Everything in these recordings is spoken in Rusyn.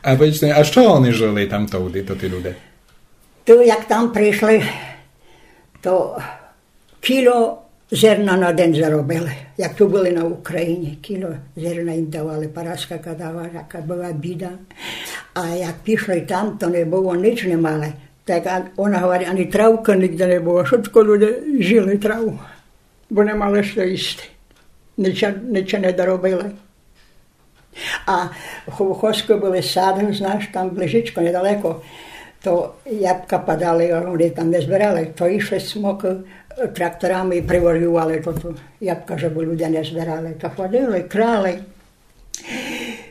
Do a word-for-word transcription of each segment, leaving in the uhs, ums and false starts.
А повідзте, а што они жыли там товды, тоты люде? То як там пришли, то кіло зерна на ден заробили. Як ту были на Україні, кіло зерна їм давали, Параска казала, яка была біда. А як пішли там, то не было, ніч не мали. Так а-, она говорить, ани травкы нигде не было, шытко люде їли траву, бо не мали што їсти. Нича, нича не доробили. А в Ховхоську были сады, знаш, там ближечко, недалеко, то ябка падали, они там не збирали, то йшли смокы, е, тракторами і привозували то, то ябка, жебы люде не збирали. То ходили, крали.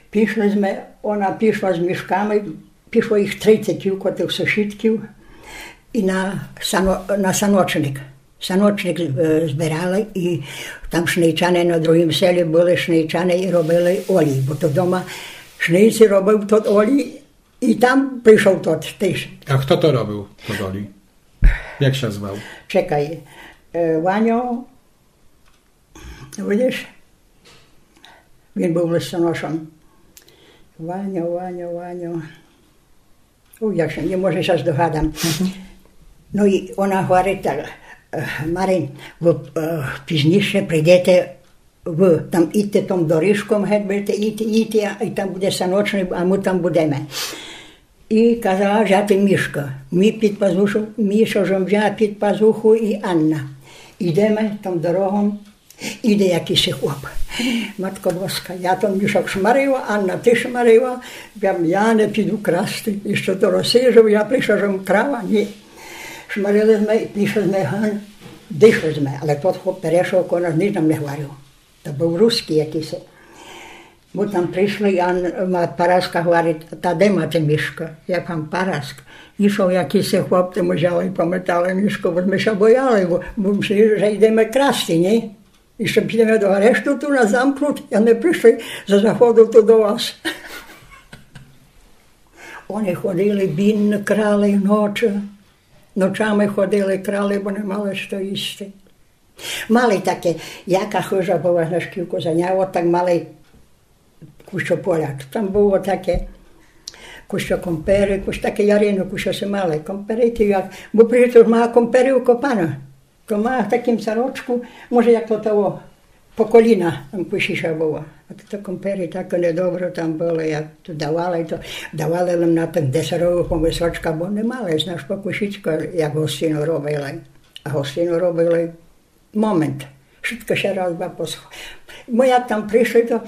Пішли зме, она пішла з мішками, пішло їх трицет тілько тых сусідків і на сано-, на саночник. Саночник, е, збирали і там шнейчане на другім селі были, шнейчане і робили олій, бо то дома шнейці робив тот олій і там пришов тот тыж. А хто то робив, тот олій? Як ся звав? Чекай, е, Ваньо, видиш? Він быв листоношом. Ваньо, Ваньо, Ваньо. О, я ся не, може, ся здогадам. Но і она говорить так, е, Марин, вы, е, пізніше прийдете, вы там ідте том доріжком, геть будете іти, іти, а, і там буде саночник, а мы там будеме. І казала взяти Мішка. Мі під пазуху, Міша жом взяла під пазуху і Анна. Ідеме том дорогом, іде якысь хлоп. Матко Боска, я тот мішок шмарила, Анна тыж шмарила, я, я не піду красти. І што то розсіжу, я пришла жом крала, ні. Шмарили зме, пішли зме ган, дишли зме, але тот хлоп перешов, ко нас нич нам не говорив. То быв русскій якысь. Мы там пришли, а н-, ма-, Параска говорить: «Та де мате Мішка?» Я пам: «Параск». Ішов якысь хлоп, то мы взяли і пометали Мішка, бо мы ся бояли, бо, бо мы мисліли, же ідеме красти, ні? І што підеме до арешту, ту нас замкнут, а мы пришли за заходу ту до вас. Они ходили бідно, крали ночы. Ночами ходили, крали, бо не мали што їсти. Мали таке, яка хыжа была, знаєш, кілько зайняла, так мали кусьо поля. Там было таке, кусьо комперы, кусьо таке ярину, кусьо се мали. Комперы ти як, бо притом мала комперы укопана. То мала в такім сарочку, може, як то того, по коліна там кусьо была. А то, то комперы так недобре там были, як то давали, то давали лем на тых десеровых помисочках, бо не мали, знаєш, по кусічку, як гостину робили. А гостину робили момент. Шытко ся раз, два посхо-, мы як там пришли, то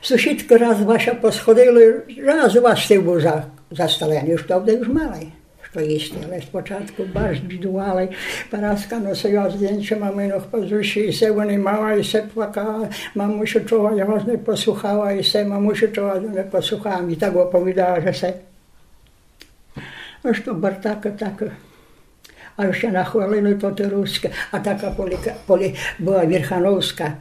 сусідкы раз, два ся посходили, раз, два стіл быв за-, застеленый, уж то вже уж мали што їсти. Але спочатку барз бідували, Параска носила здєнча маминох пазуші, і се вони мала, і се плакала, мамусю, чого я вас не послухала, і се, мамусю, чого я не послухала, мі так оповідала, же се. Ож то бартака така. А ще нахвалили то, то руске. А така поліка-, полі-, была Вірхановска.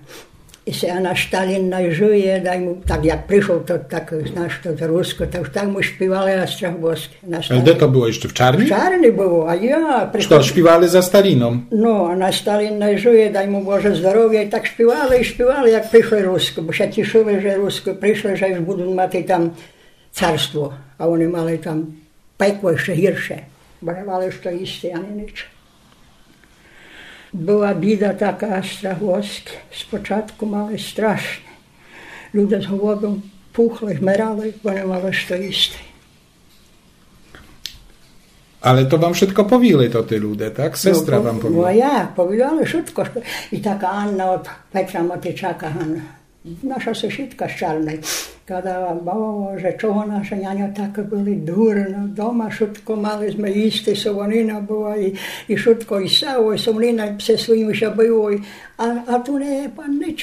І се, а наш Сталін най жиє, дай му, так як пришов, то так, знаєш, то, то руско, то уж так му шпівали, а страх боски. Наш Сталін. А де то было? Іщы в Чарні? В Чарні было, а я пришов. Што, шпівали за Сталіном? Но, а наш Сталін най жиє, дай му Боже здоровя, і так шпівали, і шпівали, як пришли руско, бо ся тішили, же руско пришли, же уж будут мати там царство, а они мали там пекло іщы гірше, бо не мали што їсти ани нич. Была біда така, страх боски, спочатку мали страшне. Люде з голоду пухли, вмирали, бо не мали што їсти. Але то вам шытко повіли тоты люде, так? Сестра вам повіла? Но, як, повіли шытко, што і така Анна од Петра Матичака, Ганна. Наша сусідка з Чарной казала: «Боже, чого наші няньо такі были дурно, дома шытко мали зме їсти, солонина была і, і шытко, і сало, і солонина, і всьо своїм ся было, і, а, а ту не є паннич».